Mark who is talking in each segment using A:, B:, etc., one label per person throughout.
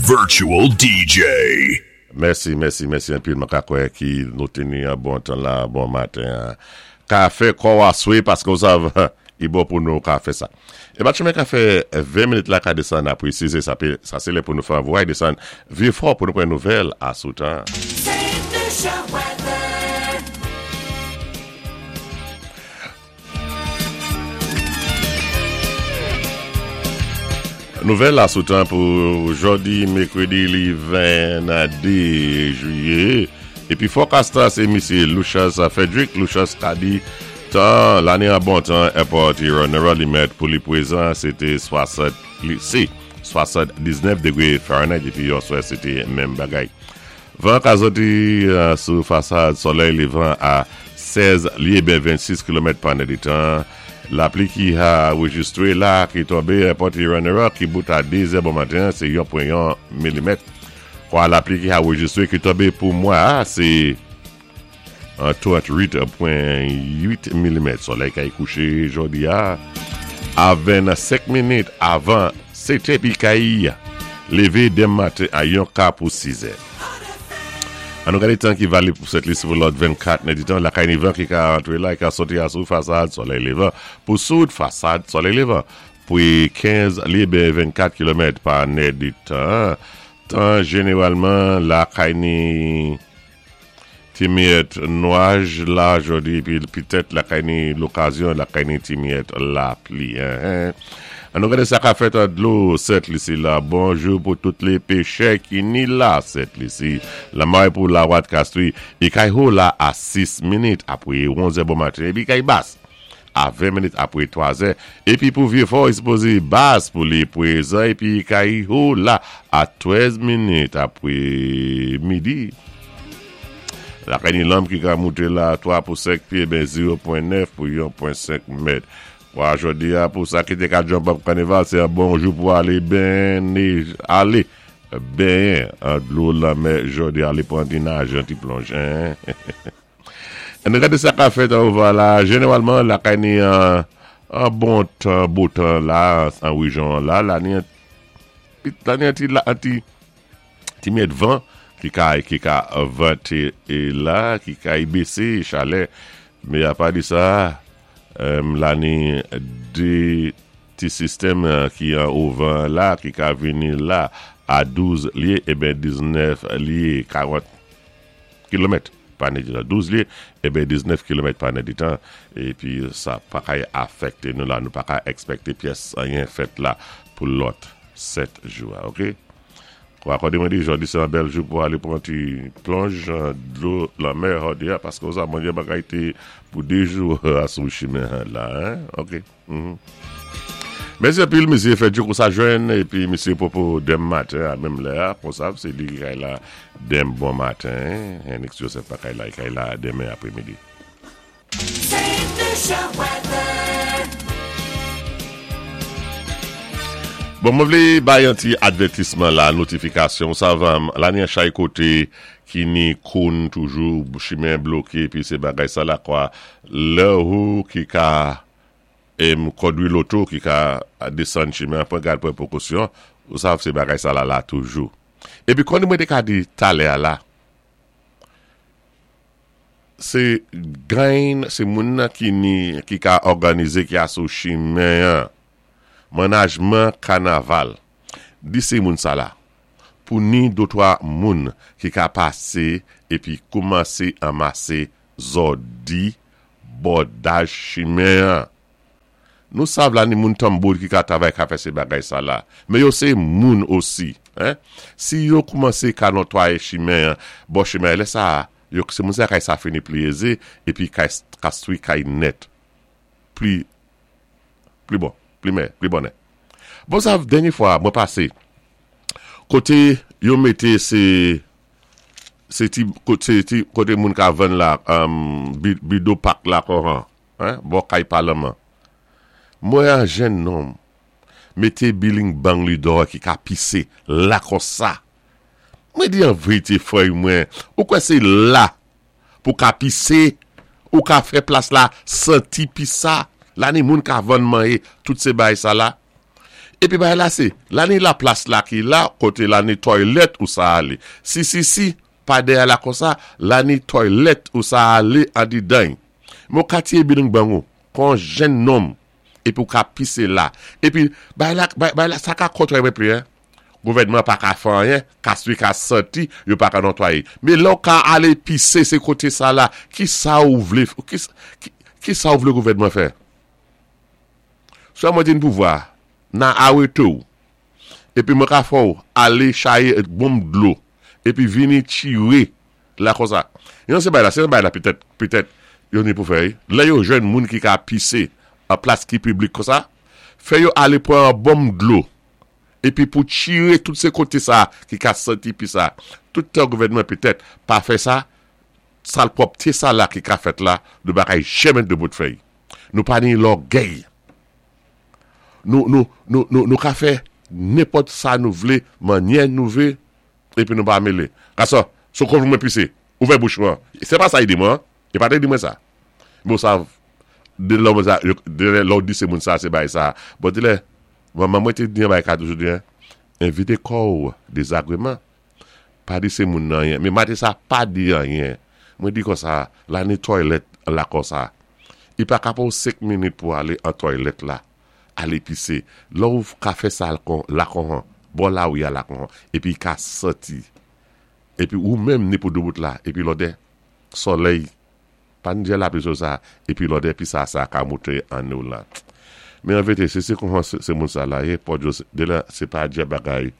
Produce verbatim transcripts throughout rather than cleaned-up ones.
A: Virtual D J.
B: Mèsi, mèsi, mèsi anpil. Mwen ka kwè ki nou teni an bon tan la, bon maten. Ka fè kò aswe paske ou sav, i bon pou nou ka fè sa. E bat chemen ka fè ven minit la ka desann apre sis, sa, pe, sa se lè pou nou fè anvwaye desann Vieux-Fort pou nou pran nouvèl asou tan.
C: Saint Lucia weather.
B: Nouvèl asou tan pou jodi, mèkredi li vennde jiyè. Épi forecast sé Misyé Lucius Frederick. Lucius ka di tan la ni an bon tan airport Huron li mèt pou li pwézan sé té swasant li sé swasanndiznèf dégwé Fahrenheit épi yèswa sé té menm bagay. Van ka soti euh, sou fasad solèy lévan a sèz lyé ben vennsis kilomèt pa nèditan. Lapli ki a anrejistwé la ki tonbé Port Huron ki bout a de zè bon maten, sé yon pwen yon milimèt. Kwa lapli ki a anrejistwé ki tonbé pou mwa, sé tranntwit pwen uit milimèt. Solèy ki kouché jodi a a vennsenk minit avan sèt épi kay lévé denmen maten a yon ka pou sis è. An nou gadé tan ki valib pou Sent Lisi pou lòt vennkat nèditan, lakay ni van ki ka antré la, ki ka soti asou fasad solèy lévan pou soud fasad solèy lévan. Pwi kenz lyé ben vennkat kilomèt pa nèditan. Tan jénéwalman lakay ni ti miyèt nwaj la jodi épi pitèt lakay ni lokazyon lakay ni ti miyèt lapli. Hein, hein. An nou gadé sa ka fèt an dlo Sent Lisi la. Bonjou pou tout lé péchè ki ni la Sent Lisi. Lamay pou lawat kastwi. I kay ho la a sis minit apwé onz bon maten. Épi kay bas a ven minit apwé twa zè. Épi pou Vieux-Fort, i sipozé bas pou li pwézan. Épi kay ho la a trèz minit apwé midi. Lakay ni lanm ki ka mouté la twa pou senk pyé, ben zewo pwen nèf pou yon pwen senk mèt. Kwa jodi a pou sa ki té ka jump up kanival, sé an bon jou pou alé ben alé benyen an dlo lanmè jodi, alé pran ti naj, an ti plonj. Hein? An nou gadé sa ka fèt an va la, jénéwalman lakay ni an, an bon tan, bo tan la, an wéjyon la, la ni an, la ni an ti, la, an ti, ti miyèt van ki ka, ki ka vanté é la, ki ka bésé chalè, mé apa di sa, euh, la ni dé ti sistèm euh, ki an ovan la, ki ka vini la a douz lyé, é ben diznèf lyé karant kilomèt pa nèditan. douz lyé, é ben diznèf kilomèt pa nèditan, épi sa pa ka afèkté nou la, nou pa ka èkspèkté pyès anyen fèt la pou lòt sèt jou, ok? Kwa akòdé mwen di, jodi sé an bèl jou pou alé pran ti plonj an dlo lanmè jodi a, paské sa mwen di bagay té pou dé jou asou chimen la, hein? Ok. Mm -hmm. Mèsi anpil, misyé Fedjo kon sa jwenn, épi misyé Popo denmen maten, a menm lè, kon sa, sé li ki kay la denmen bon maten, Henrik Joseph pa kay la, kay la denmen apwémidi.
C: Saint Lucia weather.
B: Bon, mwen vlé bay an ti advètisman la, notifikasyon, sa va, la ni an chay koté ki ni koun toujou, chimen bloké, pi sé bagay sa la kwa, lè ou ki ka em kondwi loto ki ka desann chimen, pran gad pran pwékosyon, ou sav sé bagay sa la la toujou. Épi kon mwen té ka di talè a la, sé gain, sé moun nan ki ni, ki ka òganizé ki asou chimen an, manajman kanaval, di sé moun sa la, pou ni dotwa moun ki ka pasé épi koumansé anmasé zòdi bòdaj chimen an. Nou sav la ni moun tanbou ki ka travay ka fè sé bagay sa la. Mé yo sé moun osi. Hein? Si yo koumansé ka notwayé chimen, bò chimen, lè sa, yo sé moun sa kay sa fini pli ézé, épi kay kastwi kay nèt. Pli, pli bon, pli mè, pli bonè. Bon sa, dènyé fwa, mwen pasé, koté yo mété sé, sé ti, koté, ti, koté moun ka vann la, um, bido pak la koran, hein, bò kay palman. Mwen an jenn nonm, mété biling bang li dò ki ka pisé la kon sa. Mwen di an vérité frè mwen, ou kwè sé la pou ka pisé, ou ka fè plas la santi pis sa, la ni moun ka vann manyé tout sé bay sa la. Épi bagay la sé, la ni la plas la ki la, koté la ni toilèt ou sa alé. Si, si, si, pa dèyè la konsa, la ni toilèt ou sa alé andidan. Mé ou ka tiyé biling bang ou, kon jenn nonm, épi ou ka pisé la. Épi, bagay la, bagay la, sa ka kontwé mwen pli, hein. Gouvèdman pa ka fè anyen, ka swi ka santi, yo pa ka notwayé. Mé lè ou ka alé pisé sé koté sa la, ki sa ou vlé, ki, ki, ki sa ou vlé gouvèdman fè? Swa mwen di pouvwa, nan arété ou, épi mwen ka fè ou alé chayé bonm dlo, épi vini tiré la konsa. Yon sé bagay la, sé bagay la petèt, petèt, yo ni pou fè, lè yo jwenn moun ki ka pisé an plas ki piblik konsa, fè yo alé pran an bonm dlo, épi pou tiré tout sé koté sa ki ka santi pi sa. Tout tan gouvèdman petèt pa fè sa, salpwòpté sa la ki ka fèt la, nou pa kay janmen debout fè. Nou pa ni lògèy. Nou, nou, nou, nou, nou ka fè nenpòt sa nou vlé, mannyè nou vlé, épi nou pa mélé. Gason, sou kon mwen pisé, ouvè bouch mwen. Sé pa sa i di mwen, i pa té di mwen sa. Bon sa, de lò mwen sa, de lò di sé moun sa, sé bay sa. Bon di lè, manman mwen té di yon bagay ka toujou di, évité kò ou désagréman. Pa di sé moun nan anyen. Mé maten sa pa di anyen. Mwen di konsa, la ni toilèt la konsa. I pa ka pran senk minit pou alé an toilèt la, alé pisé. Lò ou ka fè sa kon, la kon, bon la ou ya la kon, épi ka santi. Épi ou menm ni pou debout la, épi lodè, solèy, pa ni djè la pli sou sa, épi lodè pi sa sa ka mouté an nou la. Mé an vérité, sé sé kon sé moun sa la yé, pou djo, de la, sé pa djè bagay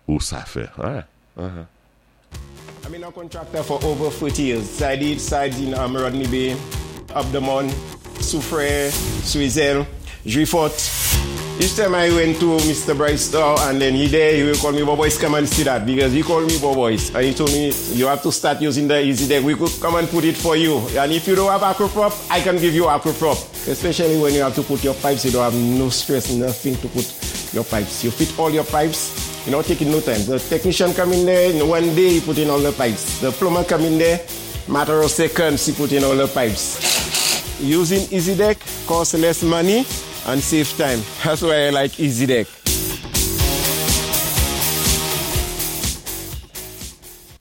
B: ou sa fè. Hein? Uh-huh.
A: I've been a contractor for over forty years. I did sites in um, Rodney Bay, Up the Mount, Soufrière, Swizel, Juifot. Each time I went to Mister Bryce store and then he there, he will call me, "Boboys, come and see that," because he called me Boboys. And he told me, "You have to start using the Easy Deck. We could come and put it for you. And if you don't have Acroprop, I can give you Acroprop." Especially when you have to put your pipes, you don't have no stress, nothing to put your pipes. You fit all your pipes, you know, taking no time. The technician come in there, in one day he put in all the pipes. The plumber come in there, matter of seconds he put in all the pipes. Using Easy Deck costs less money and save time. That's why I like Easy Deck.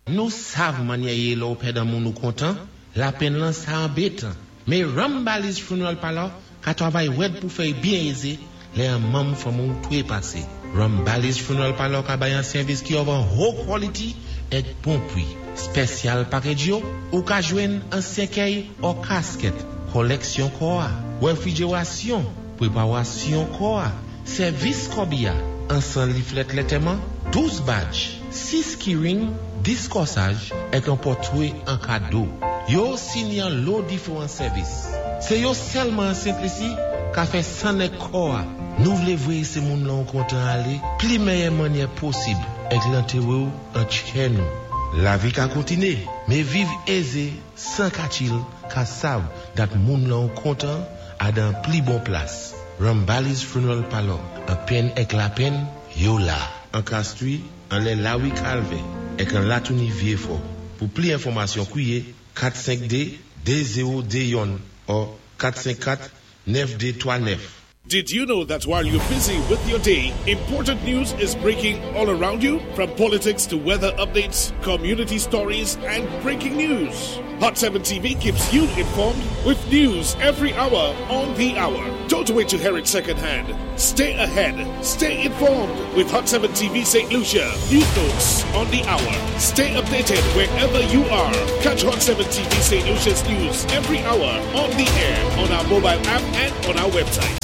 D: Nou sav mannyè yé lè ou pèd an moun ou kontan, lapenn lan sa anbétan. Mé Rambali's Funeral Parlor ka twavay wèd pou fè byen ézé, lè an manm fanmi ou twé pasé. Rambali's Funeral Parlor ka bay an sèvis ki of an haut quality èk bon pwi. Special package yo, ou ka jwenn an sèkèy ou casket, koleksyon kò a, réfrigération, préparation kò a, sèvis kòbiya, an san leaflet lantèman, douz badge, sis keyring, dis kòsaj, èk an pòtwé an kado. Yo sini an lo diferan sèvis. Sé yo sèlman an Sent Lisi ka fè san èk kò a. Nou vlé voyé sé moun lan kontan alé, pli mèyè mannyè posib, èk lantéwé ou an tchè nou. Lavi ka kontiné, mé viv ézé, san katchil, ka sav dat moun lan kontan a dan pli bon plas. Rambali's Funeral Parlor, an penn èk lapenn, yo la. An Castries, anlè Lawi Calvé, èk an Latouni Vieux-Fort. Pou pli enfòmasyon kwiyé kat senk de de zewo de youn ou kat senk kat nèf de twa nèf.
E: Did you know that while you're busy with your day, important news is breaking all around you? From politics to weather updates, community stories, and breaking news. Hot seven T V keeps you informed with news every hour on the hour. Don't wait to hear it secondhand. Stay ahead. Stay informed with Hot seven T V Saint Lucia. News notes on the hour. Stay updated wherever you are. Catch Hot seven T V Saint Lucia's news every hour on the air, on our mobile app and on our website.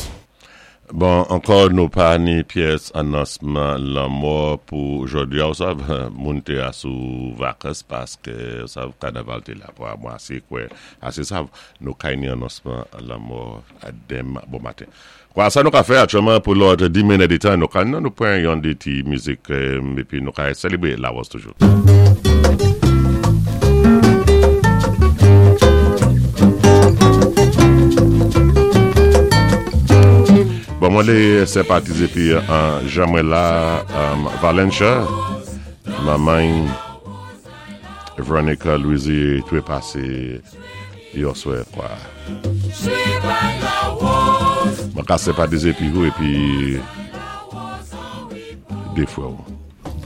B: Bon, ankò nou pa ni pyès anonsman lanmò pou jòdi a, ou sav, moun té a sou vakans paské, ou sav, kanaval té la pou a mwa asé kwè, asé sav, nou kay ni anonsman lanmò a denmen bon maten. Kwa, sa nou ka fè aktyèlman pou lòt di minit di tan, nou ka nou pran yon dé ti mizik, épi nou ka sélébré Lawòz toujou. Bon, mwen lé senpatizé pi an jan mwen la um, Valencia, manman Veronica Louisi twé pasé yè swè kwa. Mwen ka senpatizé pi ou épi Dé frè.